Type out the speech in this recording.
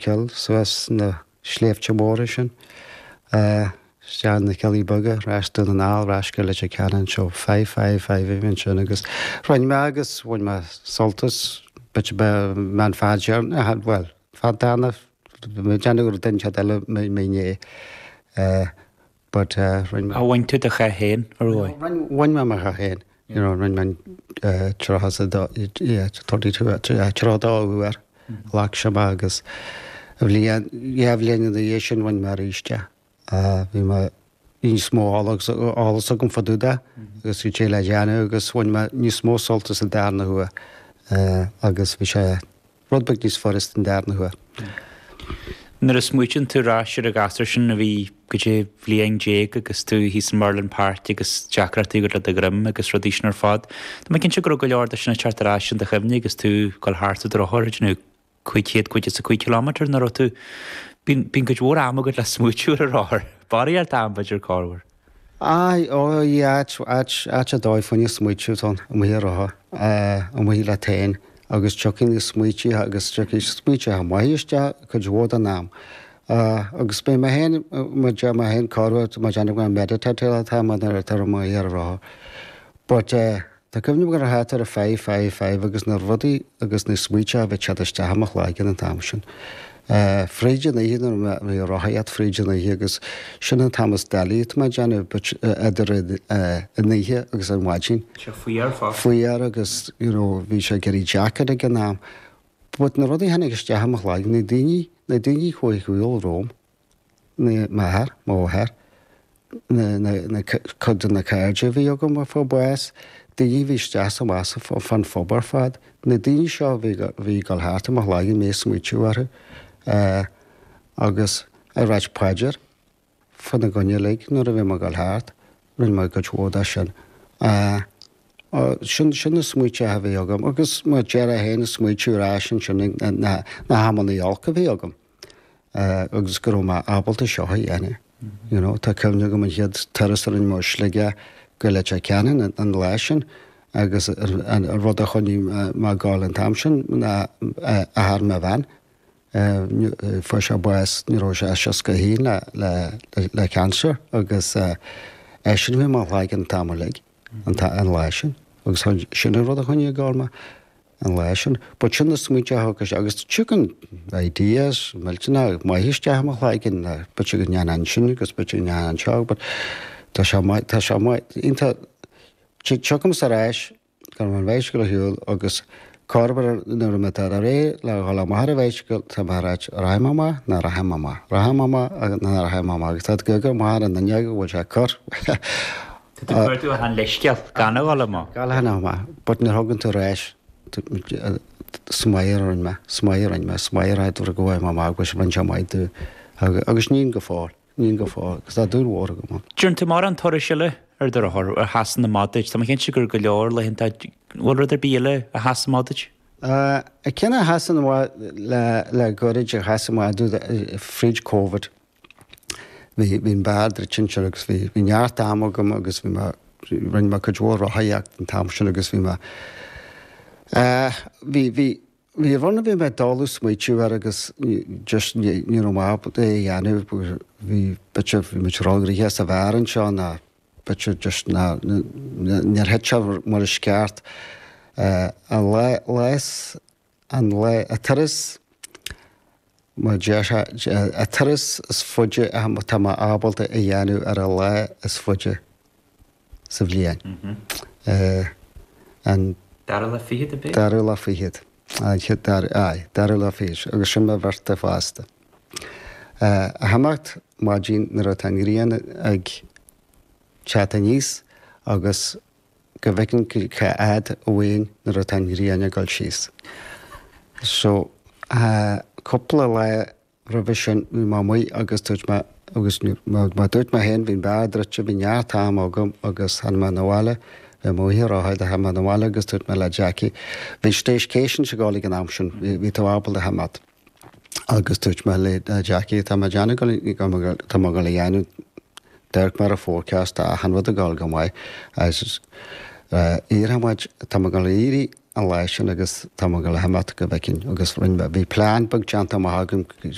Chill suas na sléibhte móra sin, isteach na Cillí Beaga, ar ais Dún na nGall, ar ais go Leitir Ceanainn, so five, five, five a bhí ansin agus rinne mé agus bhain mé sult as, b'fhéidir ba mé an fear deireanach, bhuel, fear dána, bhí mé ag déanamh go raibh duine inteacht eile i mo ndiaidh. But rinne mé. Ar bhain tú do sháith féin, ar bhain? Bhain mé mo sháith féin, you know, rinne mé an 32, yeah, 32, 32 uair, ghlac sé mé agus bhliain, dhá bhliain ina dhiaidh sin bhain mé arís é. Bhí mé níos mó eolas agam fá dtaobh de agus bhí sé le déanamh agus bhain mé níos mó sult as an darna huair agus bhí sé rud beag níos furasta an darna huair. Nuair a smaoitíonn tú ar ais ar an ghasúr sin a bhí goidé bhliain déag agus tú thíos in Merlin Park agus deacrachtaí agat le do dhroim agus rudaí sin ar fad, tá mé cinnte go raibh go leor de sin ag teacht ar ais in do chuimhne agus tú ag dul thart ar do rothar, ag déanamh 500, 505 kilometre nach raibh tú, bíonn, bíonn cuid mhór ama agat le smaoitiú ar an rothar, barraíocht am b'fhéidir corruair. Aye, oh yeah, áit, áit, áit ar dóigh fá choinne smaoitiú atá ann, amuigh ar rothar, amuigh leat féin agus tiocfaidh na smaoitithe agus tiocfaidh smaoitithe maithe isteach cuid mhór den am. Agus beidh mé féin, mar deir mé féin corruair, má déanamh go meditate atá mé nuair atá amuigh ar an rothar. But eh, Tá cuimhne agam go raibh thart ar a five, five, five agus na rudaí agus na smaointe a bhí ag teacht isteach i mo chloigeann an t-am sin. Fríd an oíche nuair a bhí ag rothaíocht fríd an oíche agus sin an t-am is doilí atá mé ag déanamh but idir an oíche agus an mhaidin. Sé fuar fosta. Fuar agus you know bhí sé ag éirí deacair ag an am. But na rudaí a tháinig isteach i mo chloigeann, na daoine, na daoine a chuaigh ar shiúl romham, m'athair, mo mháthair, na cuid de na cairde a bhí agam a fuair bás, daoine a bhí isteach is amach fán phub ar fad, na daoine seo a bhí ag dul thart i mo chloigeann, mé ag smaoitiú orthu agus ag ráit paidir fána gcoinne uilig nuair a bhí mé ag dul thart, rinne mé cuid mhór de sin. Sin sin na smaointe a bhí agam agus mar déarfá féin ag smaoitiú ar ais ansin na hamanna olca a bhí agam. agus go raibh mé ábalta seo a dhéanamh. You know, tá cuimhne agam an chéad turas a rinne mé ó Sligeach go Leitir Ceanainn an lá sin agus an rud a choinnigh mé ag gabháil an t-am sin ná athair mo bhean. Fuair sé bás ní raibh sé 61 le le cancer agus eisean a bhí i mo chloigeann an t-am uilig an lá sin agus sin an rud a choinnigh ag gabháil mé. an lá sin. But sin na smaointe a thug agus tiocfaidh ideas millteanach maith isteach i mo chloigeann, b'fhéidir go ndéanfainn sin agus b'fhéidir go ndéanfainn seo but tá sé maith, tá sé maith, iontach, tiocfaimse ar ais go raibh an bhicycle ar shiúl agus corruair nuair a mbeidh tá réidh le dhul amach ar an bhicycle tá mé ag ráit rachaidh mé amach ná rachaidh mé amach, rachaidh mé amach ná rachaidh mé amach agus tá tú ag amach ar an fhuinneog go bhfuil sé ag cur. Tá tú ag cuartú achan leithscéal gan a dhul amach. Gan a dhul amach, but nuair a thagann tú ar ais, is maith a rinne mé, is maith a rinne mé, is maith a rá go bhfaighidh mé amach go bhfuil sé maith domh agus níl go fóill, níl go fóill, agus tá dúil mhór agam ann. Déanann tú mórán turais eile ar do rothar a sheasann amach duit, tá mé cinnte gur go leor laethanta, an bhfuil rud ar bith eile a sheas amach duit? An ceann a sheasann amach le goirid a sheas amach domh fríd Covid. Bhí bhí an beár druidte ansin agus bhí bhí neart ama agam agus bhí mé rinne mé cuid mhór rothaíocht an t-am sin agus bhí mé eh bhí bhí bhí rud a bhí mé ag dul ag smaoitiú air agus just ní ní raibh mé ábalta é a dhéanamh bhí b'fhéidir bhí muid róghnoitheach sa bheár anseo ná b'fhéidir just ná níor thit sé mar is ceart eh an lá lá An lá, an turas, mar déarfá, an turas is faide atá mé ábalta a dhéanamh ar an lá is faide sa bhliain. An. Dara lá fichead, ab é? Dara lá fichead. Aye, dara lá fichead. Agus sin mo bhirthday fosta. A himeacht maidin nuair atá an ghrian ag teacht aníos agus go bhfeicfinn cá fhad uainn nuair atá an ghrian ag dul síos. So, cúpla lá roimhe sin bhí mé amuigh agus dúirt mé, agus mar dúirt mé féin, bhí an beár druidte, bhí neart ama agam agus tháinig mé 'na bhaile, bhí mé amuigh ag rothaíocht, tháinig mé 'na bhaile agus dúirt mé le Jackie, bhí staycations ag dul ag an am sin, bhí tú ábalta a himeacht agus dúirt mé le Jackie, tá mé ag déanamh go, tá mé ag dul a dhéanamh, D'amharc mé ar an forecast, tá achan rud ag dul go maith agus éireoidh muid, tá mé ag dul a éirí. an lá sin agus tá mé ag dul a imeacht go bhfeicfinn agus rinne mé, bhí plean beag déanta amach agam.